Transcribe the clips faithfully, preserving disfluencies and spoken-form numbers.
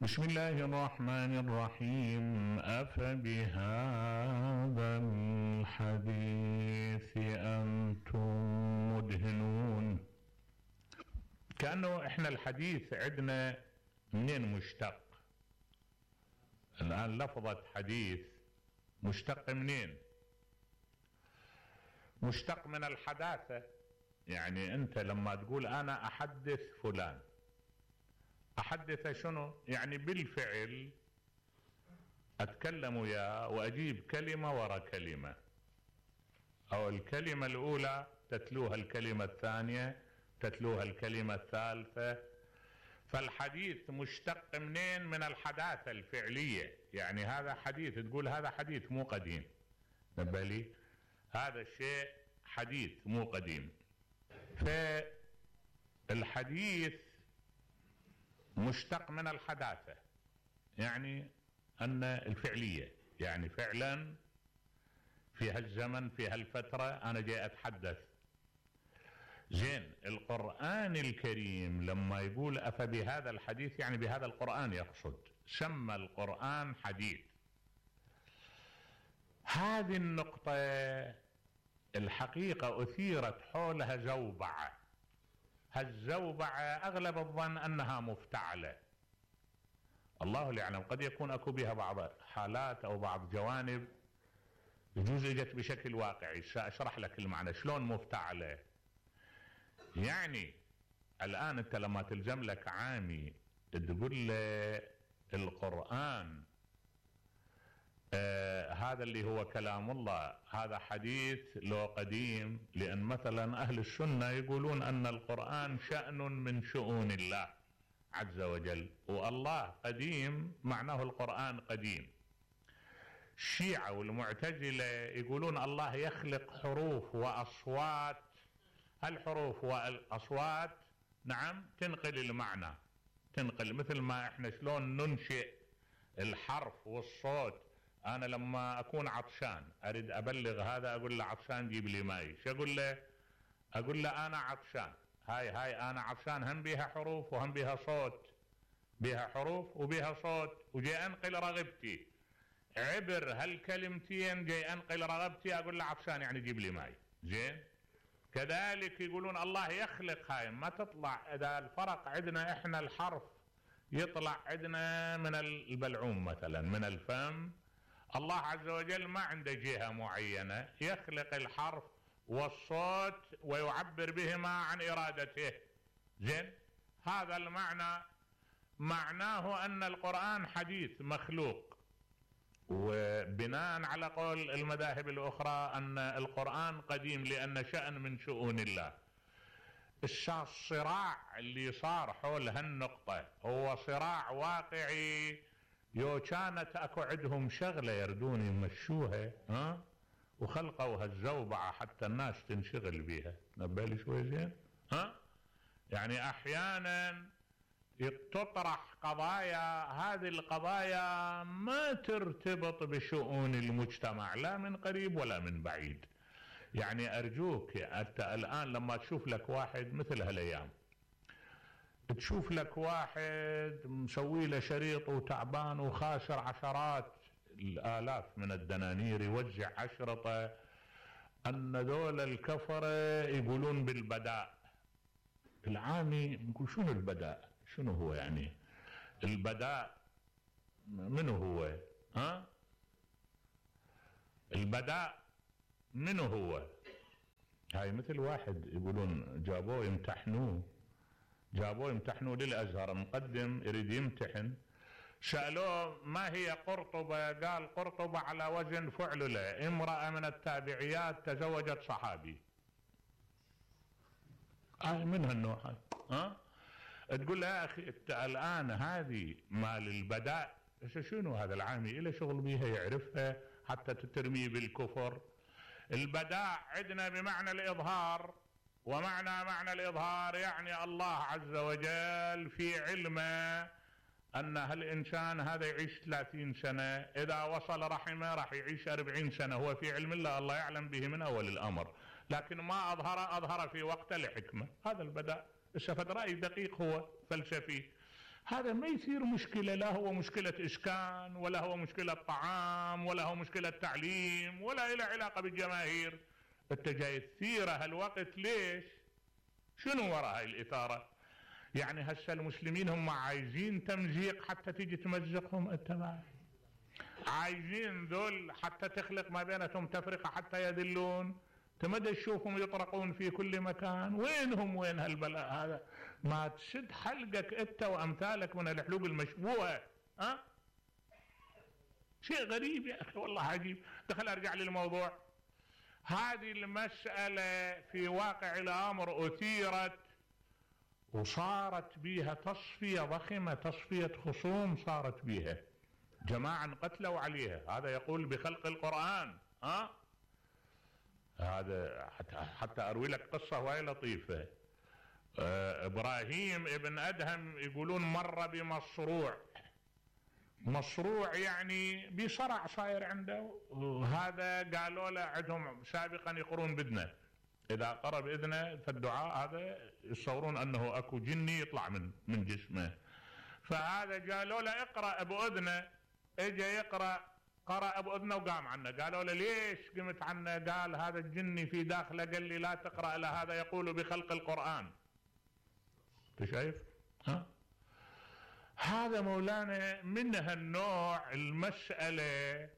بسم الله الرحمن الرحيم. أفبهذا الحديث أنتم مدهنون. كأنه احنا الحديث عندنا منين مشتق؟ الآن لفظة حديث مشتق منين؟ مشتق من الحداثة. يعني انت لما تقول انا احدث فلان، احدث شنو؟ يعني بالفعل اتكلم وياه واجيب كلمة ورا كلمة، او الكلمة الاولى تتلوها الكلمة الثانية تتلوها الكلمة الثالثة. فالحديث مشتق منين؟ من الحداثة الفعلية. يعني هذا حديث، تقول هذا حديث مو قديم، نبالي هذا الشيء حديث مو قديم. فالحديث مشتق من الحداثة، يعني أن الفعلية، يعني فعلا في هالزمن في هالفترة أنا جاي أتحدث. زين، القرآن الكريم لما يقول أفبهذا الحديث يعني بهذا القرآن يقصد، سمى القرآن حديث. هذه النقطة الحقيقة أثيرت حولها زوبعة. هالزوبعة أغلب الظن أنها مفتعلة، الله اللي يعلم، قد يكون أكو بها بعض حالات أو بعض جوانب يجوز اجت بشكل واقعي. سأشرح لك المعنى شلون مفتعلة. يعني الآن أنت لما تلزم لك عامي تقول له القرآن آه هذا اللي هو كلام الله هذا حديث لو قديم، لأن مثلا أهل السنة يقولون أن القرآن شأن من شؤون الله عز وجل، والله قديم معناه القرآن قديم. الشيعة والمعتزلة يقولون الله يخلق حروف وأصوات، الحروف والأصوات نعم تنقل المعنى، تنقل مثل ما احنا شلون ننشئ الحرف والصوت. انا لما اكون عطشان اريد ابلغ هذا اقول له عطشان جيب لي ماي، شو اقول له؟ اقول له انا عطشان. هاي هاي انا عطشان هم بيها حروف وهم بيها صوت، بيها حروف وبيها صوت، وجاي انقل رغبتي عبر هالكلمتين، جاي انقل رغبتي اقول له عطشان يعني جيب لي ماي. زين، كذلك يقولون الله يخلق هاي ما تطلع. اذا الفرق عندنا احنا الحرف يطلع عندنا من البلعوم مثلا من الفم، الله عز وجل ما عنده جهة معينة، يخلق الحرف والصوت ويعبر بهما عن إرادته. زين، هذا المعنى معناه أن القرآن حديث مخلوق. وبناء على قول المذاهب الأخرى أن القرآن قديم لأن شأن من شؤون الله. الصراع اللي صار حول هالنقطة هو صراع واقعي. يو كانت اكو عندهم شغلة يردون يمشوها ها وخلقوا هالزوبعة حتى الناس تنشغل بيها. نبالي شوي زين ها. يعني احيانا تطرح قضايا، هذه القضايا ما ترتبط بشؤون المجتمع لا من قريب ولا من بعيد. يعني ارجوك انت الان لما تشوف لك واحد مثل هالايام، تشوف لك واحد مسوي له شريط وتعبان وخاسر عشرات الالاف من الدنانير يوزع اشرطه، ان ذول الكفره يقولون بالبداء. العامي يقول شنو البداء؟ شنو هو يعني البداء؟ منو هو؟ ها البداء منو هو؟ هاي مثل واحد يقولون جابوه يمتحنوه، جابوه يمتحنوه للازهر، مقدم يريد يمتحن، سألوه ما هي قرطبة؟ قال قرطبة على وزن فعللة، امرأة من التابعيات تزوجت صحابي. آه من هالنوع هاي ها؟ تقول له يا اخي انت الان هذه مال البداء شنو هذا العامي إله شغل بيها يعرفها حتى تترميه بالكفر. البداء عندنا بمعنى الإظهار، ومعنى معنى الإظهار يعني الله عز وجل في علمه أن هالإنسان هذا يعيش ثلاثين سنة، إذا وصل رحمه راح يعيش أربعين سنة، هو في علم الله، الله يعلم به من أول الأمر، لكن ما أظهر أظهر في وقت لحكمة. هذا البداء. السفد رأي دقيق هو فلسفي. هذا ما يصير مشكلة، لا هو مشكلة إسكان ولا هو مشكلة طعام ولا هو مشكلة تعليم ولا إله علاقة بالجماهير. انت جاي تثير هالوقت ليش؟ شنو وراء هاي الإثارة؟ يعني هسه المسلمين هم عايزين تمزيق حتى تيجي تمزقهم انت معي، عايزين ذول حتى تخلق ما بينهم تفرقة حتى يذلون، تمدى تشوفهم يطرقون في كل مكان. وينهم وين هالبلاء هذا؟ ما تشد حلقك انت وامثالك من الحلوق المشبوهة. ها شيء غريب يا اخي والله عجيب. دخل ارجع للموضوع. هذه المسألة في واقع الامر اثيرت وصارت بها تصفية ضخمة، تصفية خصوم صارت بها، جماعة قتلوا عليها. هذا يقول بخلق القرآن. ها هذا حتى, حتى اروي لك قصة وهي لطيفة. آه ابراهيم ابن ادهم يقولون مر بمصروع، مصروع يعني بصرع صاير عنده، وهذا قالوا له عندهم سابقا يقرون باذنه، اذا قرأ باذنه فالدعاء هذا يتصورون انه اكو جني يطلع من من جسمه. فهذا قالوا له اقرأ باذنه، اجى يقرأ، قرأ باذنه وقام عنه. قالوا له ليش قمت عنه؟ قال هذا الجني في داخله قال لي لا تقرأ له، هذا يقول بخلق القرآن. انت شايف؟ ها هذا مولانا من هالنوع المسألة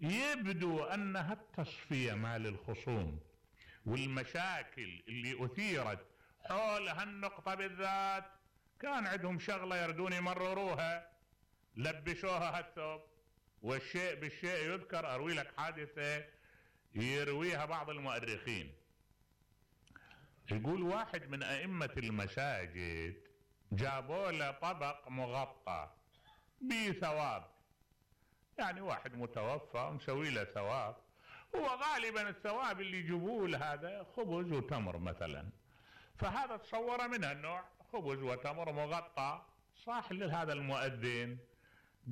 يبدو انها التصفية مال الخصوم والمشاكل اللي اثيرت حول هالنقطة بالذات. كان عندهم شغلة يردون يمرروها، لبسوها هالثوب، والشيء بالشيء يذكر. اروي لك حادثة يرويها بعض المؤرخين. يقول واحد من ائمة المساجد جابوا له طبق مغطى بثواب، يعني واحد متوفى مسوي له ثواب، هو غالبا الثواب اللي يجيبوه هذا خبز وتمر مثلا. فهذا تصور من هالنوع، خبز وتمر مغطى. صاح لهذا المؤذن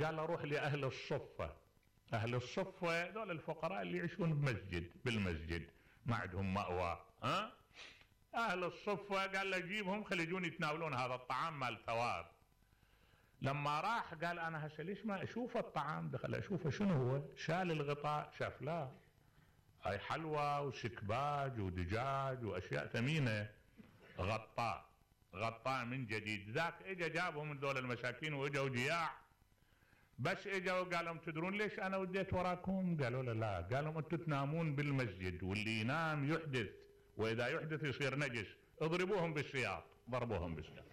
قال له روح لأهل الصفة. أهل الصفة دول الفقراء اللي يعيشون بمسجد بالمسجد ما عندهم مأوى. ها أهل الصفة قال له جيبهم خلي يجون يتناولون هذا الطعام مال ثواب. لما راح قال أنا هسه ليش ما أشوف الطعام؟ دخل أشوفه شنو هو؟ شال الغطاء شاف لا هاي حلوى وسكباج ودجاج وأشياء ثمينة، غطاء غطاء من جديد. ذاك اجا جابهم من دول المساكين واجوا جياع، بس اجوا قالوا تدرون ليش انا وديت وراكم؟ قالوا له لا. قالوا انتم تنامون بالمسجد واللي ينام يحدث، واذا يحدث يصير نجس، اضربوهم بالسياط. ضربوهم بالسياط.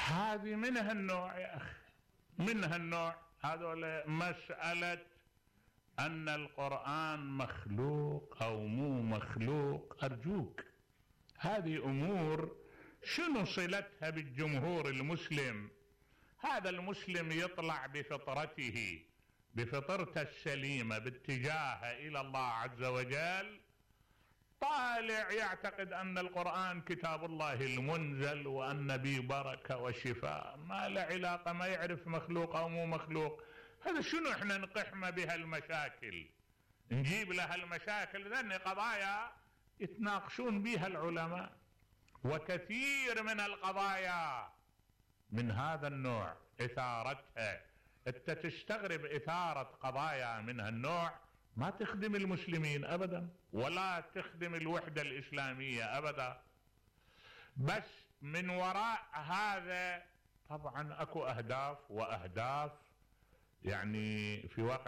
هذه من هالنوع يا اخي، من هالنوع. هذول مسألة أن القرآن مخلوق أو مو مخلوق، أرجوك هذه أمور شنو صلتها بالجمهور المسلم؟ هذا المسلم يطلع بفطرته، بفطرته السليمة باتجاهه إلى الله عز وجل، طالع يعتقد أن القرآن كتاب الله المنزل وأن به بركة وشفاء، ما له علاقة، ما يعرف مخلوق أو مو مخلوق. هذا شنو احنا نقحمه بها المشاكل، نجيب لها المشاكل، ذني قضايا يتناقشون بها العلماء. وكثير من القضايا من هذا النوع اثارتها، انت تستغرب اثارة قضايا من هالنوع ما تخدم المسلمين ابدا ولا تخدم الوحدة الاسلامية ابدا. بس من وراء هذا طبعا اكو اهداف واهداف، يعني في واقع